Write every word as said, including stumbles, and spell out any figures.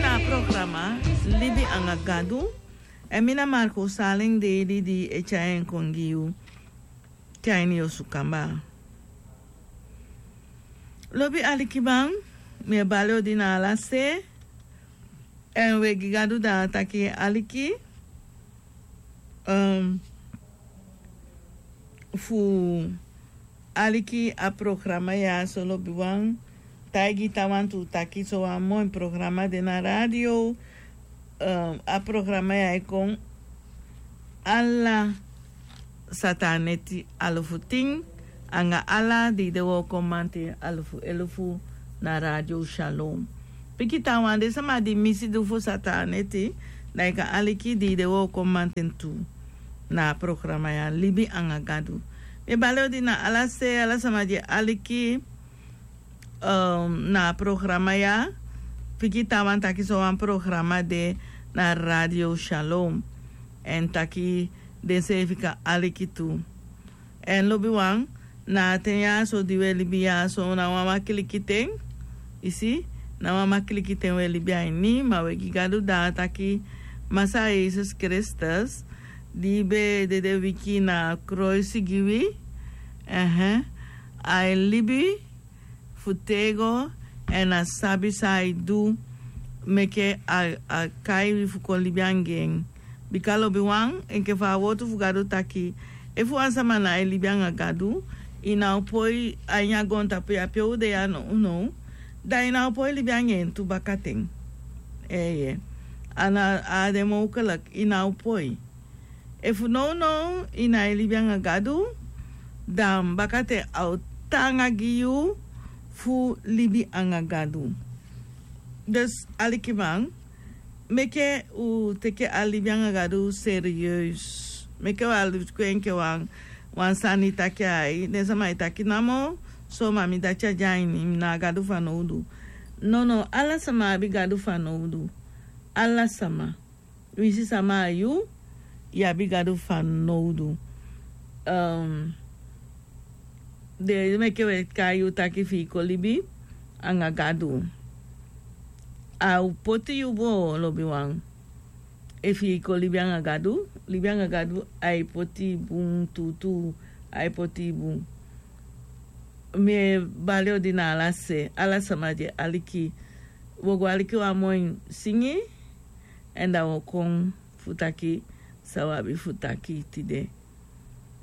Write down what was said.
A programa Libi anga Gadu. Èn mi na Marco Saleng Deli di e tyai en kon gi yu te a ini yu osu kamba. Lobi alikiman, mi e bali odi na ala se. Èn we gi Gadu da taki aliki. Ehm, fu aliki a programa ya so lobiwan, taigi taawan tu taki so wan moi programa de na radio. Ehm, a programa ya e kon ala sataneti alufu tin anga ala di de wooko manten alufu elufu na radio Shalom. Piki taawan de sama di misi du fu sataneti, da i kan aliki di de wooko manten tu na a programa ya Libi anga Gadu. Mi e bali odi na ala se, ala sama di e aliki, ehm, na a programa ya. Piki taawan taki so wan programa de na radio Shalom. Èn taki denseefi kan aliki tu. Èn lobiwan, na a ten ya so di we libi ya so na wan makiliki ten. I si, na wan makiliki ten we libi a ini, ma we gi Gadu da taki Masaa Yesus Kristus di be dede wiki na kroisi gi wi. Ehe. A e libi fu tego, èn a sabi san a e du meke a, a kai wi fu kon libi anga en. Bika lobiwan, enke fa a wortu fu Gadu taki, efu wan sama ná e libi anga Gadu, i ná o poi a ini a goontapu ya pe u de ya nownow, da i ná o poi libi anga en tu bakaten. Eeye. A ná, a á de mogelijk, i ná o poi. Efu nownow i ná e libi anga Gadu, dan bakaten a o taanga gi yu fu libi anga Gadu. Dus alikiman, meke u teke a libi anga Gadu serieus. Meke u á luku en enke wan, wan sani taki ai, den sama e taki namo, so ma mi dati á de a ini, mi na Gadu fanowdu. Nono, ala sama abi Gadu fanowdu. Ala sama. Winsi sama a yu, yu abi Gadu fanowdu. Ehm, den meke we kai yu taki fi i kon libi anga Gadu. A o poti yu bun, lobiwan. Efu i kon libi anga Gadu, libi anga Gadu, a e poti i bun tuutuu, a e poti i bun. Mi e bali odi na ala se, ala sama di e aliki. Wo go aliki wan moi singi, èn da wo kon fu taki san wi abi fu taki tide.